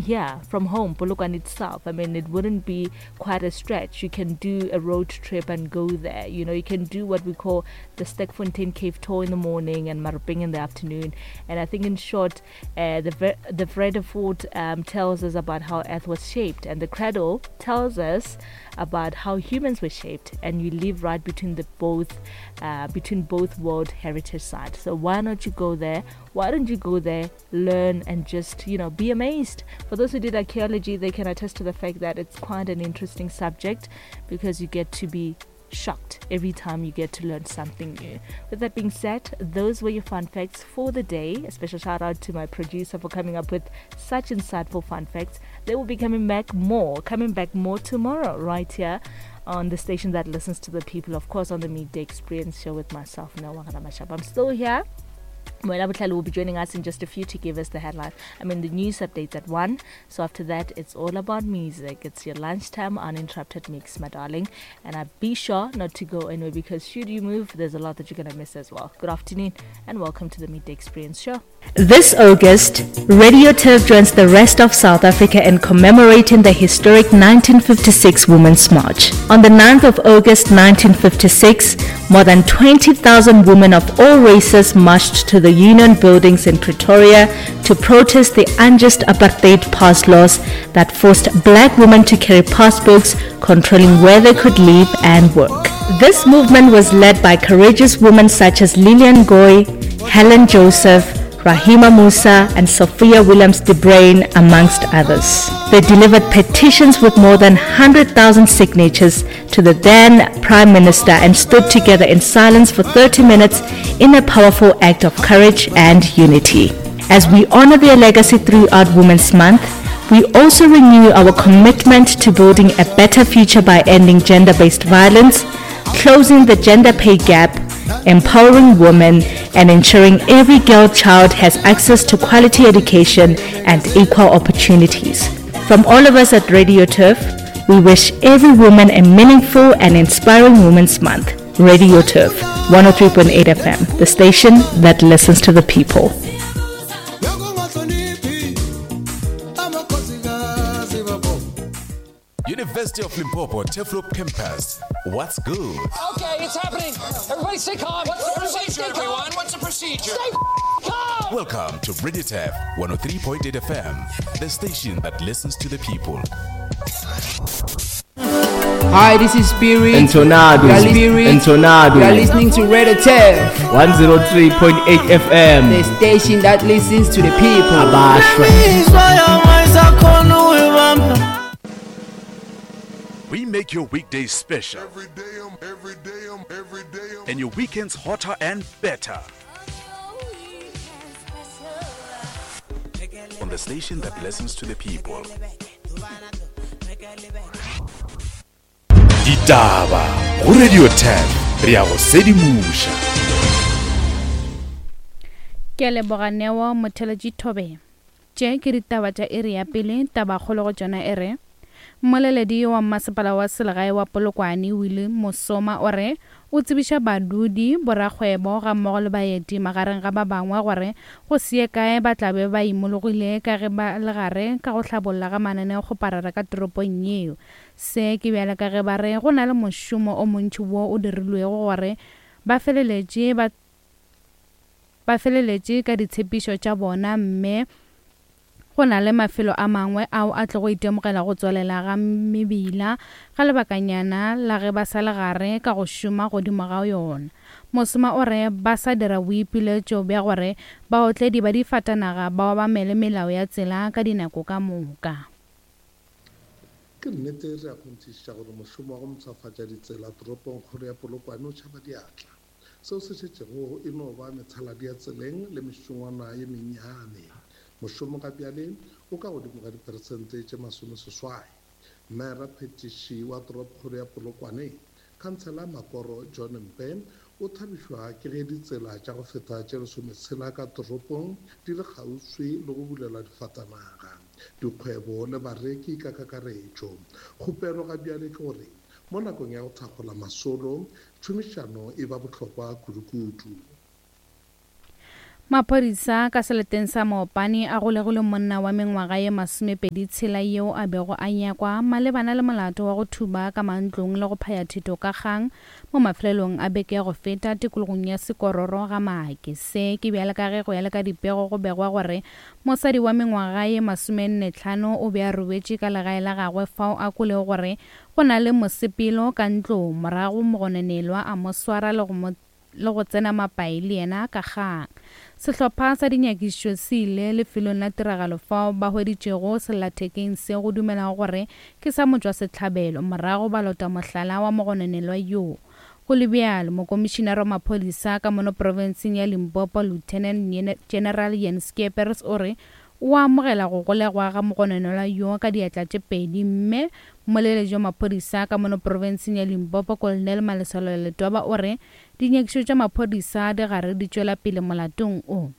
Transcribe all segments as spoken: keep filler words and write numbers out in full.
here, from home, Polokwane itself. I mean, it wouldn't be quite a stretch. You can do a road trip and go there. You know, you can do what we call the Sterkfontein Cave tour in the morning and Maropeng in the afternoon. And I think, in short, uh, the the Vredefort um, tells us about how Earth was shaped, and the Cradle tells us about how humans were shaped. And you live right between the both, uh, between both World Heritage Sites. So why not you go there? Why don't you go there, learn, and just, you know, be amazed? For those who did archaeology, they can attest to the fact that it's quite an interesting subject because you get to be shocked every time you get to learn something new. With that being said, those were your fun facts for the day. A special shout out to my producer for coming up with such insightful fun facts. They will be coming back more, coming back more tomorrow, right here on the station that listens to the people, of course, on the Midday Experience Show with myself, Noah Mashab. I'm still here. Moela Botlhale will be joining us in just a few to give us the headline. I mean, the news updates at one. So after that, it's all about music. It's your lunchtime uninterrupted mix, my darling. And I be sure not to go anywhere, because should you move, there's a lot that you're going to miss as well. Good afternoon and welcome to the Midday Experience Show. This August, Radio Turf joins the rest of South Africa in commemorating the historic nineteen fifty-six Women's March. On the ninth of August nineteen fifty-six, more than twenty thousand women of all races marched to the Union Buildings in Pretoria to protest the unjust apartheid pass laws that forced black women to carry passbooks controlling where they could live and work. This movement was led by courageous women such as Lillian Goy, Helen Joseph, Rahima Moosa and Sophia Williams de Bruyn, amongst others. They delivered petitions with more than one hundred thousand signatures to the then Prime Minister and stood together in silence for thirty minutes in a powerful act of courage and unity. As we honor their legacy throughout Women's Month, we also renew our commitment to building a better future by ending gender-based violence, closing the gender pay gap, empowering women, and ensuring every girl child has access to quality education and equal opportunities. From all of us at Radio Turf, we wish every woman a meaningful and inspiring Women's Month. Radio Turf, one oh three point eight F M, the station that listens to the people. University of Limpopo, Turfloop Campus. What's good? Okay, it's happening. Everybody stay calm. What's the Everybody procedure, stay calm. everyone? What's the procedure? Stay calm. Welcome to Radio Turf one oh three point eight F M, the station that listens to the people. Hi, this is Spirit. And Tornado. You are Spirit. And Tornado. You are listening to Radio Turf one oh three point eight F M, the station that listens to the people. Abashwe. We make your weekdays special. Every day, I'm, every day, I'm, every day, I'm. And your weekends hotter and better. On the station that listens to the people. Ditaba go Radio ten, re ya go sedimusha. Ke a leboga Neo Motheletši Thobe. Tše ke ditaba tša iri ya pele, tabakgolo go tšona e re Mmoleledi wa masepala wa selegae wa Polokwane Willie Mosoma o re o tsebiša badudi, borakgwebo ga mmogo le baeti magareng ga ba bangwe gore go se ye kae ba tla be ba imologile ka ge ba le gare ka go hlabolla ga mananeokgoparara ka toropong yeo. Se ke bjale ka ge ba re go na le mošomo o montši wo o dirilwego gore ba feleletše ba ba feleletše ka ditshepišo tša bona, mme go na le mafelo a mangwe ao a tlogo itemogela go tswelela ga mebila ga lebakanyana la ge ba sa le gare ka go šoma godimo ga yona. Mosoma o re ba sa dira boipiletšo bja gore baotledi ba difatanaga ba obamele melao ya tsela ka dinako ka moka. Ke nnete re a kgonthišiša gore mošomo wa go mpshafatša ditsela toropong kgolo ya Polokwane o tšhaba diatla. Seo se šetšego e no ba methaladi ya tseleng le mešongwana ye mennyane. Mošomo ga bjale o ka godimo ga diperesente tše masomeseswai. Mmaera phetiši wa toropokgolo ya Polokwane, Khansela Makoro John Mpe, o thabišwa ke ge ditsela tša go feta tše lesometshela ka toropong di le kgauswi le go bulela difatanaga, dikgwebo le bareki ka kakaretšo. Kgopelo ga bjale ke gore mo nakong ya go thakgola masolo, tšhomišano e ba bohlokwa kudukudu. Maphodisa ka seleteng sa Maopane a golegile monna wa mengwaga ye masomepedi tshela yeo a bego a nyakwa malebana le molato wa go thuba ka mantlong le go phaya thito ka kgang mo mafelelong a beke ya go feta tikologong ya Sekororo ga Maake. Se ke bjale ka ge go ya le ka dipego go begwa gore mosadi wa mengwaga ye masomenne tlhano o be a robetše ka legae la gagwe fao a kwelego gore go na le mosepelo ka ntlong, morago mogononelwa a mo swara le go mo le go tsena mapai le yena ka kgang. Sehlopha sa dinyakišišo se ile lefelong la tiragalo fao ba hweditšego sellathekeng se go dumelago gore ke sa motšwasehlabelo, morago ba lota mohlala wa mogononelwa yoo. Go le bjalo, mokomišinara wa maphodisa ka mono profenseng ya Limpopo Lieutenant General Jan Skeepers o re o amogela go golegwa ga mogononelwa yoo ka diatla tše pedi, mme mmoleletši wa maphodisa ka mono profenseng ya Limpopo Colonel Malesela Letwaba o re dinyakišišo tša maphodisa di gare di tšwela pele molatong o.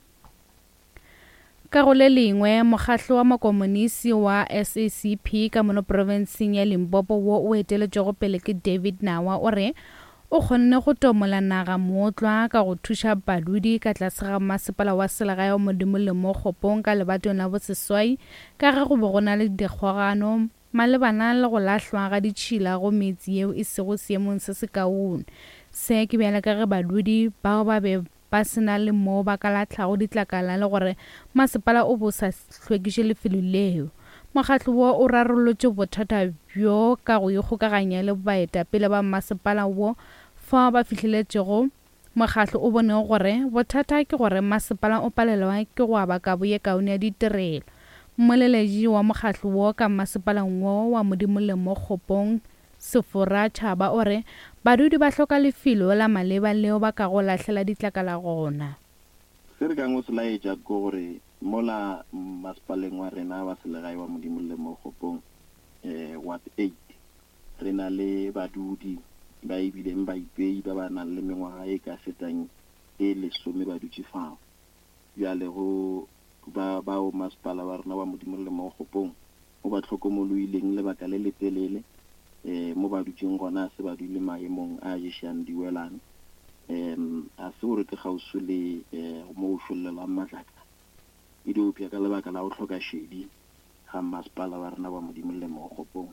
Ka go le lengwe, mokgahlo wa makomonisi wa S A C P ka mono profenseng ya Limpopo wo o eteletšwego pele ke David Nawa o re o kgonne go tomola naga mootlwa ka go thuša badudi ka tlase ga masepala wa selegae wa Modimolle mo Kgopong ka lebatong la boseswai ka ge go be go na le dikgogano malebana le go lahlwa ga ditšhila go metse yeo e sego seemong se sekaone. Se ke bjale ka ge badudi bao ba be ba se na le moo ba ka lahlago ditlakala le gore masepala o bo sa hlwekiše lefelo leo. Mokgatlo wo o rarolotše bothata bjo ka go ikgokaganya le baetapele ba masepala wo fao ba fihleletšego. Mokgatlo o bonego gore bothata ke gore masepala o palelwa ke go aba kabo ye kaone ya ditirelo. Mmoleledi wa mokgatlo wo ka masepaleng wo wa Modimolle mo Kgopong Sefora Tšhaba o re badudi ba hloka lefelo la maleba leo ba kago lahlela ditlakala gona. Se re kang o se laetša ke gore mola masepaleng wa rena wa selegae wa Modimolle mo Kgopong eh ward eight re na le badudi ba ebileng ba ipei ba ba nang le mengwaga e ka fetang e lesome ba dutše fao. Bjale go ba bao masepala wa rena wa Modimolle mo Kgopong o ba hlokomoloileng lebaka le letelele eh mo ba dutšeng gona se ba dule maemong a ješang diwelang em a se gore ke kgauswi le mo o šollelwang matlakala e diopša ka lebaka la go hloka šedi ga masepala wa rena wa Modimolle mo Kgopong.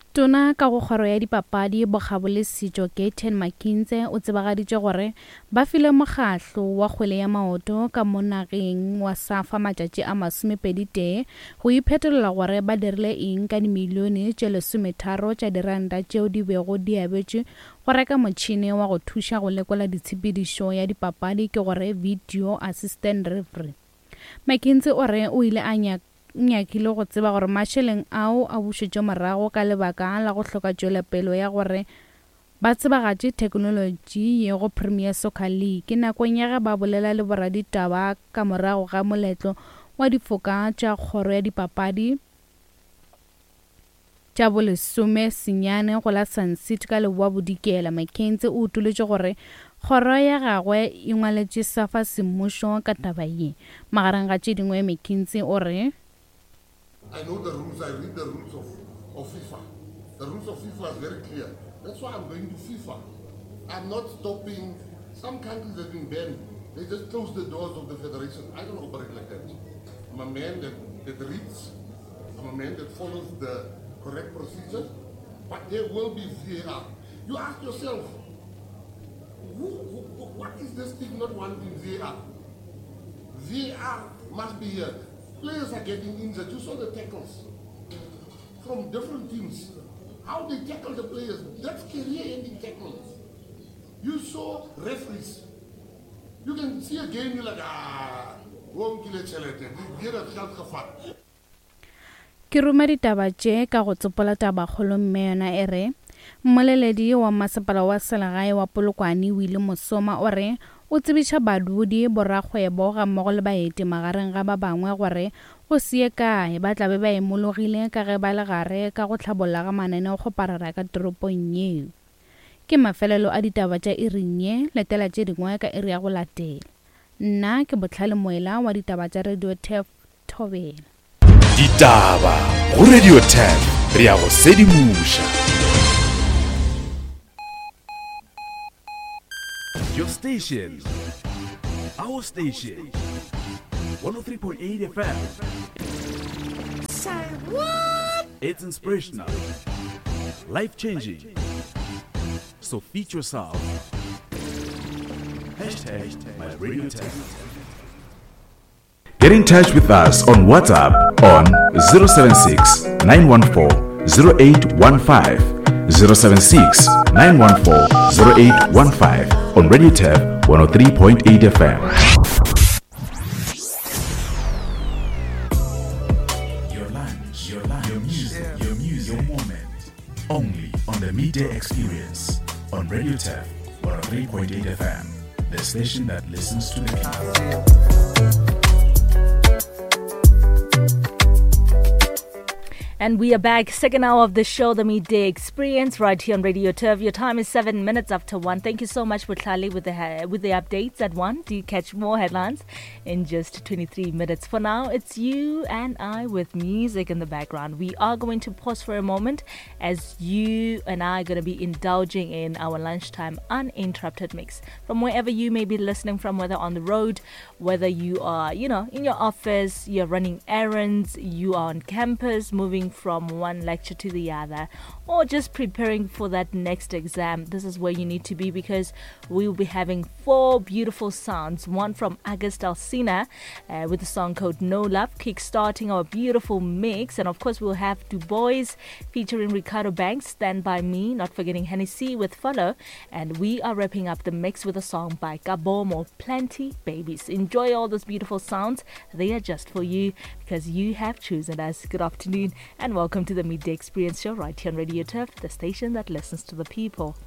Tona ka go kgoro ya dipapadi, bokgabo le setšo Gayton McKenzie o tsebagaditše gore ba file mokgahlo wa kgwele ya maoto ka mo nageng wa SAFA matšatši a masomepedi tee go iphetolela gore ba dirile eng ka dimilione tše lesometharo tša diranta tšeo di bego di abetšwe go reka motšhene wa go thuša go lekola ditshepedišo ya dipapadi, ke gore video assistant referee. McKenzie o re o ile a nyaka nyakile go tseba gore mašeleng ao a bušetšwe morago ka lebaka la go hloka tšwelopele ya gore ba tsebagatše theknolotši ye go Premier Soccer League nakong ya ge ba bolela le boraditaba ka morago ga moletlo wa difoka tša kgoro ya dipapadi tša bolesome senyane go la Sun City ka Leboa Bodikela. McKenzie o utolotše gore kgoro ya gagwe e ngwaletše SAFA semmušo ka taba ye. Magareng ga tše dingwe, McKenzie o re I know the rules, I read the rules of, of FIFA. The rules of FIFA is very clear. That's why I'm going to FIFA. I'm not stopping. Some countries have been banned. They just close the doors of the federation. I don't operate like that. I'm a man that, that reads. I'm a man that follows the correct procedure. But there will be V A R. You ask yourself, who, who, what is this thing not wanting V A R? V A R must be here. Players are getting injured. You saw the tackles from different teams. How they tackle the players, that's career-ending tackles. You saw referees. You can see a game, you're like, ah, Ke ruma ditaba tše ka go tsopola tabakgolo mme yona e re mmoleledi wa masepala wa selegae wa Polokwane Willie Mosoma o re o tsebiša badudi, borakgwebo gammogo le baeti magareng ga ba bangwe gore go se ye kae ba tla be ba imologile ka ge ba le gare ka go hlabolla ga mananeokgoparara ka toropong yeo. Ke mafelelo a ditaba tša iring ye, letela tše dingwe ka iri ya go latela. Nna ke Botlhale Moela wa ditaba tša Radio Turf Thobela. Ditaba go Radio Turf, re ya go sedimoša. Your station, Our station, one oh three point eight F M. Say what? It's inspirational, life-changing. So feed yourself. Hashtag my radio tech. Get in touch with us on WhatsApp on zero seven six, nine one four, zero eight one five, zero seven six, nine one four, zero eight one five on Radio Turf one oh three point eight F M. Your lunch, your lunch, your music, your music, your moment. Only on the Midday Experience on Radio Turf one oh three point eight F M, the station that listens to the people. And we are back, second hour of the show, the Midday Experience, right here on Radio Turf. Your time is seven minutes after one. Thank you so much, Butlali, with the with the updates at one. Do you catch more headlines in just twenty-three minutes? For now, it's you and I with music in the background. We are going to pause for a moment as you and I are going to be indulging in our lunchtime uninterrupted mix. From wherever you may be listening from, whether on the road, whether you are, you know, in your office, you're running errands, you are on campus, moving from one lecture to the other, or just preparing for that next exam, this is where you need to be, because we will be having four beautiful sounds. One from August Alsina uh, with the song called No Love, kickstarting our beautiful mix, and of course we'll have Du Bois featuring Ricardo Banks, Stand By Me, not forgetting Hennessy with Follow, and we are wrapping up the mix with a song by Kabomo, Plenty Babies. Enjoy all those beautiful sounds. They are just for you because you have chosen us. Good afternoon and welcome to the Midday Experience Show right here on Radio Turf, the station that listens to the people.